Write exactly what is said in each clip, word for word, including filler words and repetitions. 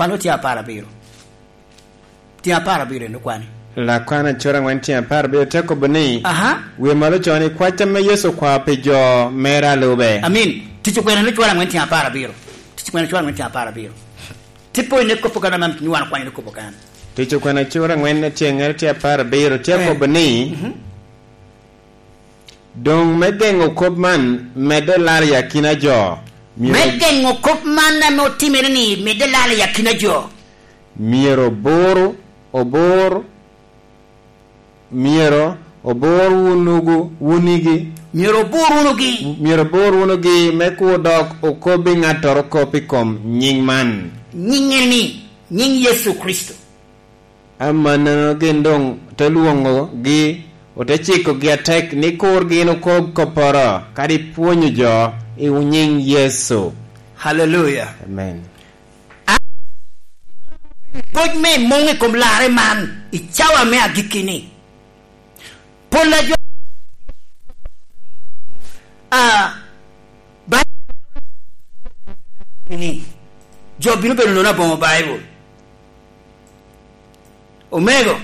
Malo tye apar abiro. Tye apar abiro en okwani. Lakwan acura angwen tye apar abiro te kobo ni, Aha. Wie malo co ni, "Kwac ame Yecu okwao pi jo mere a lube." Amin. Tic okwena ni cura angwen tye apar abiro. Tic okwena cura angwen tye apar abiro. Tipo ine kopo kan ame nywalo kwani ni kopo kan. Tic okwena cura angwen tye ngere tye apar abiro. Tye Eh. kobo ni, Mhm. Doŋ me geŋo kop man medde lal i akina jo, myero Me geŋo kop man ame otimere ni medde lal i akina jo. Myero obur, obur, myero obur wunugu, wunigi. Myero obur wunugi. Myero obur wunugi me kur dok okobbi ŋattoro kop i kom nyiŋ man. Nyiŋ en ni, nyiŋ Yecu Kricito. Amannono gin doŋ te lwoŋogi, ote cikogi atek ni kur gin okob kopporo, kadi pwonyo jo i nyiŋ Yecu. Haleluya. Amen. A-, koc me muŋ i kom larre man, i cawa me agikki-ni. Pol a jo, a, ba-, ni, jo bino bedo nono aboŋo Baibul. Omego,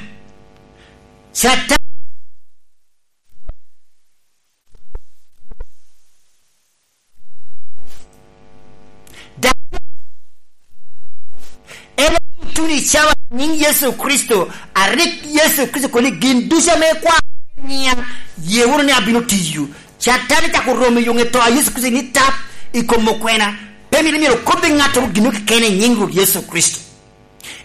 Catan, da-, en otuno i cawa nyiŋ Yecu Kricito, a rik Yecu Kricito kobo ni, "Gin ducu ame ikwao nyiŋa, ye wunu ni abino tiyo." Catan cako romo i yoŋe to a Yecu Kricito ni tap i kom okwena. Pe mito myero okobbi ŋattoro gin keken i nyiŋ Rwot Yecu Kricito.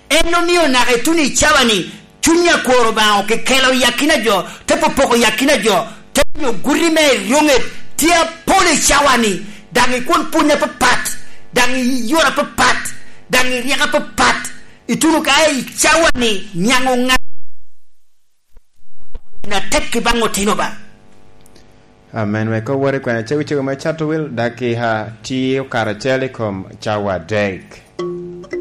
En omio naka ituno i cawa ni, cuny akwor Obaŋa okekelo i akina jo, te popoko i akina jo, te miyo guti me eryoŋet tye apol i cawa ni, daŋ ikwon pwony apapat, daŋ iyora apapat, daŋ iryeko apapat. Ituno ka i cawa ni, niaŋ oŋa-, na tek i baŋ otino ba. Amen. Wek owor i kwena cegocego me cato wil, dakika tye okato acel i kom cawa adek.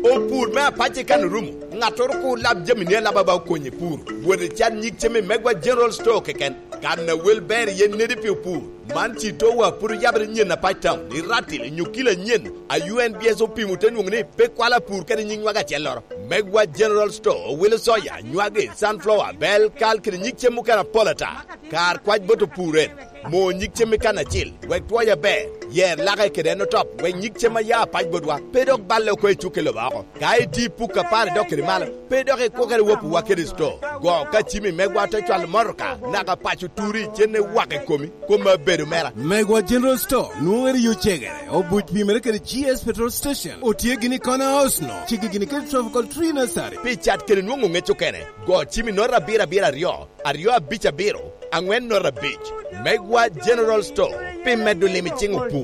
Opur me apac i kan orumo. Ŋattoro kur lab jami ni alaba ba okony i pur. Wot i cat nyig cem i Megwa General Store keken. Kan a wel ber iye nedi pi opur. Man ci towa pwod oyabere nyen apac town, i Ratil, i Nyukila nyen, a U N B S opimo te nwoŋo ni pe kwalo apur kede nyig nwaga acelloro. Megwa General Store owilo soya, nywagi, sunflower, bel, kal kede nyig cem mukene apol ata. Kar kwac bot opur en, mo nyig cem i kan acil, wek twoye aber, yer lake kede en otop, wek nyig cem a ya apac botwa pe dok balle oko i cukke lobo oko. Ka iti puk apar idok kede malo, pe dok ikwo kede wopiwa kede sto. Go ka cimi megwa te cwalo motoka, naka paco turi, cen iwak i komi, kome abedo mera. Megwa General Store, nwoŋere yo cegere, obuc pimere kede G S Petrol Station, otye gini i Corner House no, cigi gini kede Tropical Tree Nursery. Pi cat kede nwoŋo ŋec okene, go cimi nota abiro abiro aryo, aryo abic abiro, aŋwen nota abic. Megwa General Store, pi medo lim i ciŋ opur.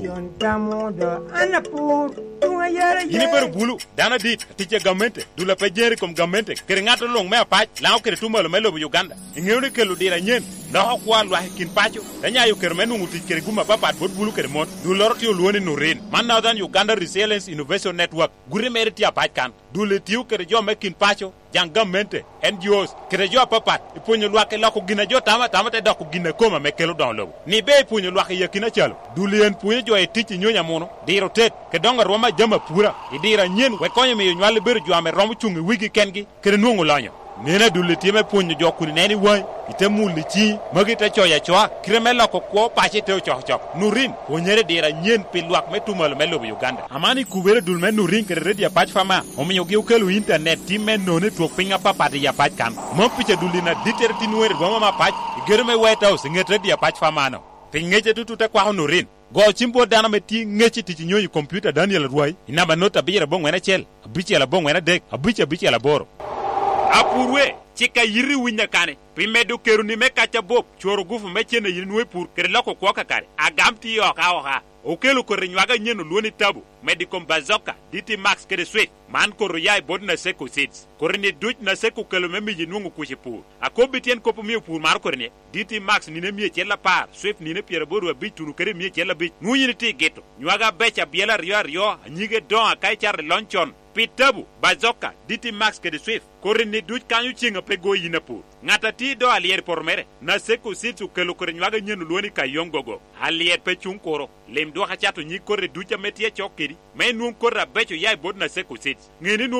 Yin ibedo bulu, dano adit, atic a gamente, dul a pe jeri i kom gamente, kede ŋat luŋ me apac, Laŋo kede tuŋ malo me lobo Uganda. Iŋeo ni kelo diro anyen, loko kwo a lwak i kin paco, te nyayo kero me nwoŋo tic kede gum apapat bot bulu kede mon. Dulloro tye olwoŋo ni Nurin. Man Northern Uganda Resilience Innovation Network. Guti mere tye apac kan. Dul etio kede jo me kin paco, jaŋ gamente, N G Os, kede jo apapat, i pwonyo lwak i loko gin a jo tamo atama te doko gin a kome ame kelo doŋo lobo. Ni be i pwonyo lwak i akina calo, dul en pwonyo jo i tic i nyonyo amuno, diro tet, kede doŋo arwom a jami apura, i diro anyen, wek konyo miyo nywal ebedo jo ame romo cuŋ i wigi kengi, kede nwoŋo lonyo. Neno adul etio me pwonyo jo kun ineno i waŋi, ite mulo i ciŋi, magi te coyo acoa, kite me loko kwo paco ite ocokocok. Nurin, pwonyere i diro anyen pi lwak me tuŋ malo me lobo Uganda. Aman i kubere dul me Nurin kede Redio Apac Fama, omiogi okelo intanet tim me nono i twok piny apapat i apac kan. Mom pica dul in adittere tin wer i boma me apac, i gedo me White House, i ŋet Redio Apac Fama-no. Piny ŋece tutut te kwako Nurin. Go cim bot dano ame tye ŋec i tic i nyonyo i kompiuta Daniel Arwai, i namba not abiro aboŋwen acel, abicel aboŋwen adek, abic abicel aboro. Apurwe, cik a yiti winya kane, pi medo keroni me kac abop, cworo gufu me cen a yin inwoŋo i pur, kede loko kwo kakare. Agam tye oka oka. Okelo koti nywag anyen olwoŋo ni Tabu, medo i kom Bazooka, D T Max kede Swift. Man koti oya i bot Naseko Seeds. Koti-ni duc Naseko okelo me miyo inwoŋo kuc i pur. Akobbi tyen kop omio pur maro koti-ni, D T Max nino mia acel apar, Swift nino pyeraboro abic tuno kede mia acel abic. Nwoŋo yin itye i gito. Nywag abeco abyela aryo aryo, anyige doŋo aka icato i lony con. Pi Tabu, Bazooka, D T Max kede Swift, koti-ni duc kanyo ceŋ a pe go yin apur. Ŋat a tye i do alyet i poto mere, Naseko Seeds okelo koti nywag anyen olwoŋo ni Kayong Gogo. Alyet pe cuŋ kuro. Lim dwok acato nyig koti duc ame tye acok kedi, me inwoŋ koti abeco oya i bot Naseko Seeds. Ŋe ni nwoŋo